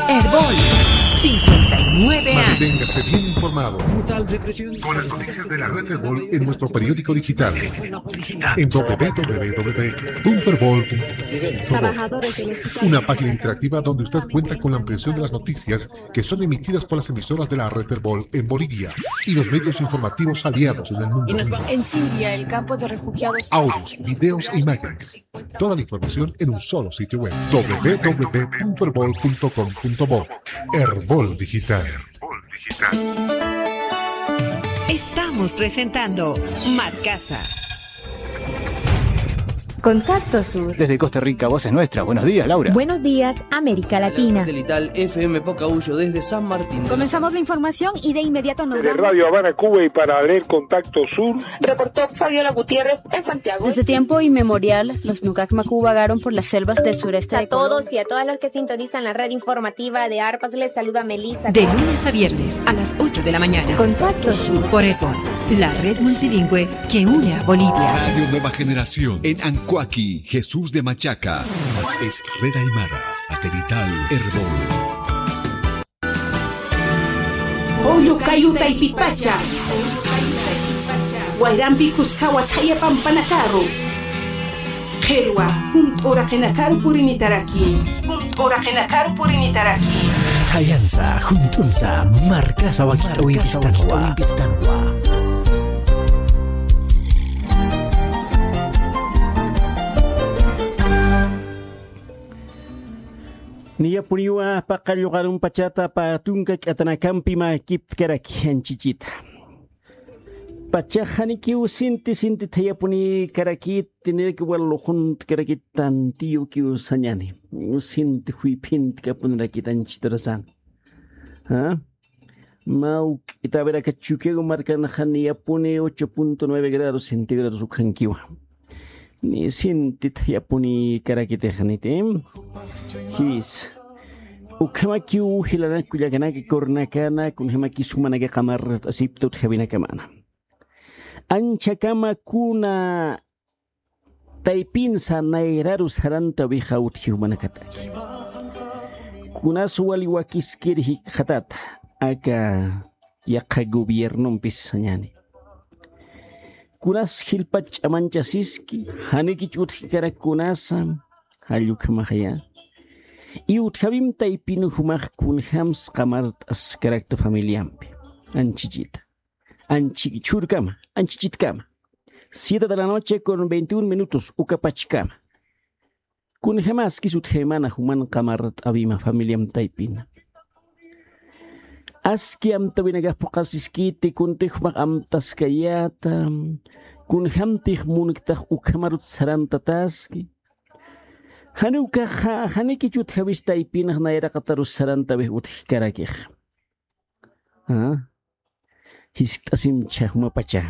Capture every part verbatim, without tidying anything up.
Erbol, cincuenta y nueve años. Manténgase bien informado con las noticias de la red Erbol en nuestro periódico digital en w w w punto erbol punto com. Una página interactiva donde usted cuenta con la ampliación de las noticias que son emitidas por las emisoras de la red Erbol en Bolivia y los medios informativos aliados en el mundo. En Siria, el campo de refugiados. Audios, videos e imágenes. Toda la información en un solo sitio web, w w w punto erbol punto com punto bo. Erbol Digital. Estamos presentando Marcasa. Contacto Sur. Desde Costa Rica, Voces Nuestra. Buenos días, Laura. Buenos días, América Latina. Satelital F M Pocahullo desde San Martín. Comenzamos la información y de inmediato nos vamos. Desde Radio Habana, Cuba, y para leer Contacto Sur, reportó Fabiola Gutiérrez en Santiago. Desde tiempo inmemorial, los Nukakma vagaron por las selvas del sureste de Colombia. A todos y a todas los que sintonizan la red informativa de Arpas, les saluda Melissa. De lunes a viernes a las ocho de la mañana. Contacto Sur. Por Erbol, la red multilingüe que une a Bolivia. Radio Nueva Generación en Ancoaqui, Jesús de Machaca. Es Red Aymara, satelital Erbol. Oyu kayu taypipacha. Wayrampi kuskawa thaya pampanakaru. Qhirwa, junt'u uraqinakaru purinitaraki. Junt'u uraqinakaru purinitaraki. Thayansa, junt'unsa, Marcasa wakit'awimpistanwa. Niyapuniwa paqallqarum pachata pä tunka k'atanakampi mä kiptkaraki anchichita. Pachax janikiw sinti sinti thayapuni karakit, tiniraki wal luxunt karakit, tantiyu kiw sañani. Sinti juyphintkapunirakit anchitarasan. ¿Ah? Mawk'ita, a ver, aka Chukiyawu markanxa niyapuni ocho punto nueve grados centígrados ukhankiwa. Ni sinti thayapuni karakitix niti. Jis. Ukhamakiw jilanak kullakanaka, kurunakana, kunjamakis jumanaka qamart'asipta utjawinakamana. Anchhakama kuna taypinsa nayraru sarantawixa utji jumanakataki. Kunas wali wakiskir jikxatata, aka yaqha gobiernompis sañani. Kunas jilpach ch'amanchasiski, janikich utjkarak kunasa, jall ukhamaxaya. Y utjawim taypin jumax kunjams qamart'askarakta familiampi. Anchichita. Anchi chhurkama, anchichitkama. Siete de la noche con veintiún minutos, ukapachkama. Kunjamaskis utjaymana juman qamart'awima familiam taypina. Aski amtawinakax phuqasiskiti, kuntix jumax amtaskayäta, kunjamtix munktax ukhamarut sarantataski. Janiw ukaxa, janikich utjawis taypinx nayraqatarus sarantawix utjkarakix. ¿Ah? Jiskt'asim chhaxmapacha.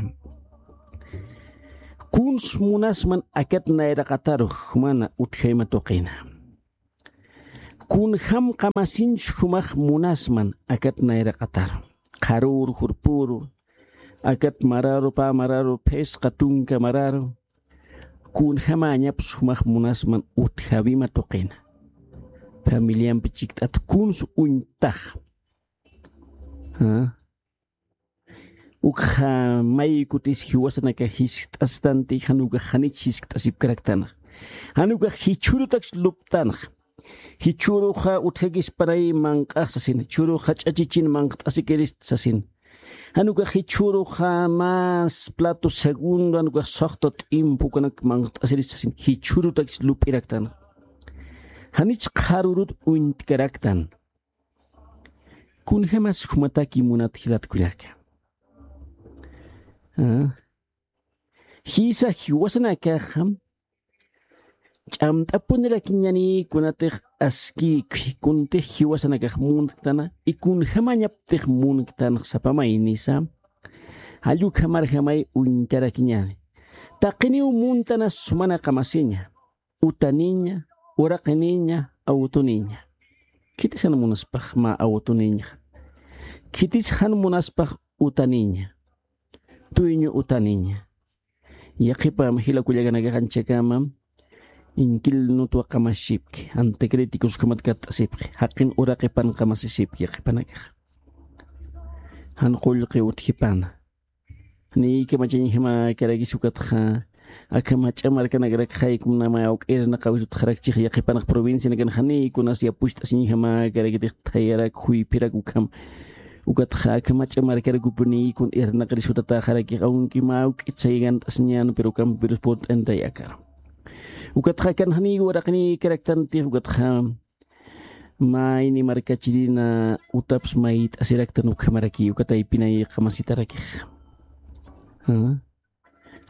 Kuns munasman akat nayraqatarux jumana utjayma tuqina. Kunjam qamasinch jumax munasman akat nayraqatar. Qharüru, jurpüru, akat mararu, pä mararu, phisqa tunka mararu. Kunjamañaps jumax munasman utjawima tuqina. Familiampi chikt'at kuns uñtax. ¿Ah? Ukxa may kutis jiwasanakax jiskt'astanti, jan ukax janich jiskt'asipkaraktanxa. Jan ukax jichhürutakch luptanxa. Jichhüruxa utjakisparay manq'ax sasin, jichhüruxa ch'achichin manqt'asikirist sasin. Jan ukax jichhüruxa más plato segundo, jan ukax saqta t'impu ukanak manqt'asirist sasin. Jichhürutakch lup'iraktanxa. Janich qharürut uñtkaraktan. Kunjamas jumataki munat jilat kullaka. ¿Ah? Jisa jiwasanakaxa ch'amt'apunirakiñani kunatix aski kuntix jiwasanakax munktana, y kunjamañaptix munktanx sapa maynisa, jall ukhamarjamay uñtarakiñani. Taqiniw muntana sumana qamasiña. Utaniña, uraqiniña, awtuniña. Khitis jan munaspax mä awtuniña. Khitis jan munaspax utaniña. Dueño utaniña. Yaqhipa jila kullakanakax anchhakama Inkil nutwa qamasipki, anticríticos ukhamat katt'asipki, jaqin uraqipan qamasisipki yaqhipanakax. Jan qullqi utjipana. Janiy kamachañjamäkarakis ukatxa, aka mach'a markanakarakxa jaykum nama awk'irnaqawis utjarakchix yaqhipanax provincianakan janiy kunas yapucht'asiñjamäkarakitix thayarak, juyphirak ukham. Ukatxa aka mach'a markarakupuniy kun irnaqaris jutatäxarakix, aunque mä awk'it saygant'asiñän, pero ukampirus purt'antay akar. Ukatxa akan janiy waraqinïkaraktantix, ukatxa mayni markachirina utaps mayt'asiraktan ukhamaraki, uka taypinay qamasitarakix. ¿Ah?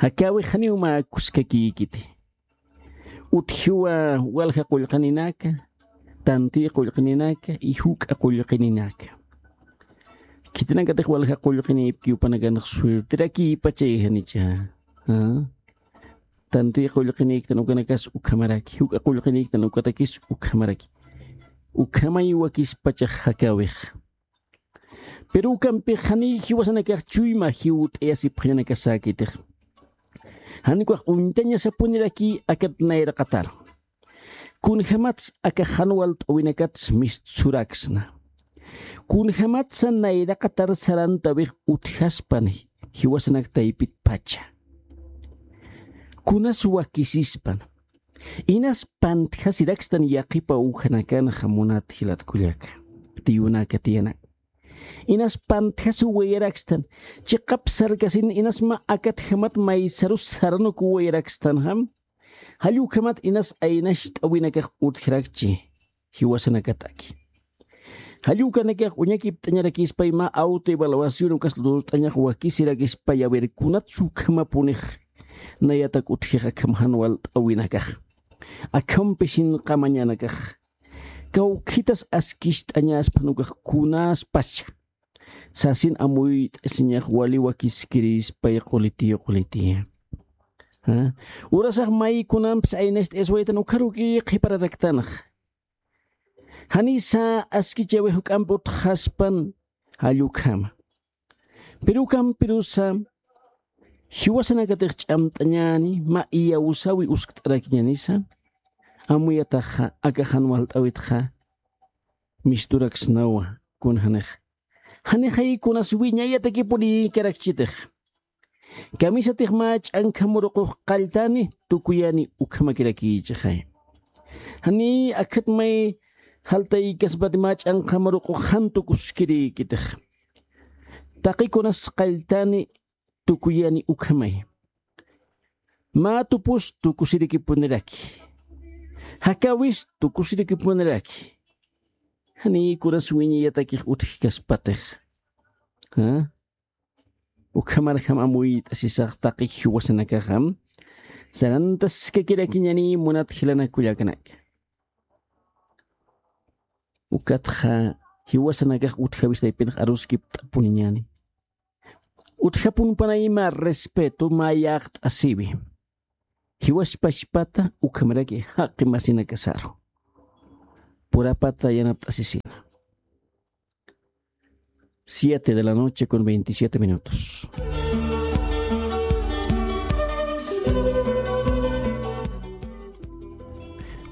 Jakäwix janiw mä kuskakïkiti. Utjiwa walja qullqininaka, tantiy qullqininaka y juk'a qullqininaka. Khitinakatix walja qullqinïpki jupanakanx suerterakïpachay janicha. ¿Ah? Tantiy qullqinïktan ukanakas ukhamaraki, juk'a qullqinïktan ukatakis ukhamaraki. Ukhamay wakispachax jakäwix. Pero ukampix janiy jiwasanakax chuyma jiwt'ayasipxañanakasäkitix. Jan ukax uñtañasapuniraki akat nayraqatar. Kunjämats aka jan walt'äwinakats mistsuraksna. Kunjämatsa nayraqatar sarantäwix utjaspan jiwasanak taypitpacha. Kunas wakisispan. Inas pantjasirakstan yaqhipa ujanakanxa munat jilat kullaka. Tiyunaka tiyanak. Inas pantjasiwayarakstan. Chiqap sarkasin inas mä akatjamat maysarus saranukuwayarakstan jam. Jall ukhamat inas aynacht'äwinakax utjarakchi jiwasanakataki. Jall ukanakax uñakipt'añarakispay mä autoevaluación ukas lurt'añax wakisirakispa, a ver, kunats ukhamapunix nayatak utjix akham jan walt'äwinakax. Akhampisin qamañanakax. Kawkhitas askist'añaspan ukax kunaspascha. Sasin amuyt'asiñax wali wakiskirispay qulitiyu qulitiya. ¿Ah? Urasax may kunampis aynacht'ayaswaytan ukharuki qhipararaktanxa. Janisa askichäwix juk'ampi utjaspan jall ukhama. Pero ukampirusa jiwasanakatix ch'amt'añäni, mä iyawsäwi uskt'arakiñänisa, amuyataxa aka jan walt'äwitxa misturaksnawa kunjänix. Janixay kunas wiñayatakipuni karakchitix. Kamisatix mä ch'ankha muruqux qalltani tukuyani ukhamakirakichixay. Jani akhat may jaltaykaspati mä ch'ankha muruqux jan tukuskirïkitix. Taqi kunas qalltani tukuyani ukhamay. Mä tupus tukusirikipuniraki. Jakäwis tukusirikipuniraki. Jani kunas wiñayatakix utjkaspatix. ¿Ah? Ukhamarjam amuyt'asisax taqi jiwasanakaxam. Sarantaskakirakiñani munat jilanak kullakanaka. Ukatxa jiwasanakax utjäwis taypinx aruskipt'apuniñäni. Utjapunpanay mä respeto, mä yaqt'asiwi. Jiwaspachpata ukhamaraki jaqi masinakasaru. Purapata yanapt'asisina. Siete de la noche con veintisiete minutos.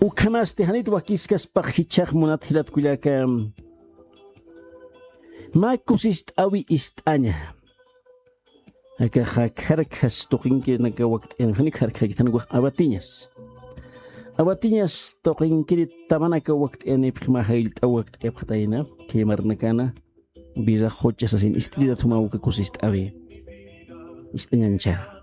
Ukhamasti janit wakiskaspax jichhax munat jilat kullaka. Mä kusist'äwi ist'aña. Akaxa kharkhas tuqinkirinaka wakt'ayan, jani kharkhakithan ukax abatiñas. Abatiñas tuqinkiri tamanaka wakt'ayanipxi mä jayllt'aw wakt'ayapxatayna, khaymarnakana, vida jocha sasin ist'iritat juma uka kusist'äwi. Ist'añancha.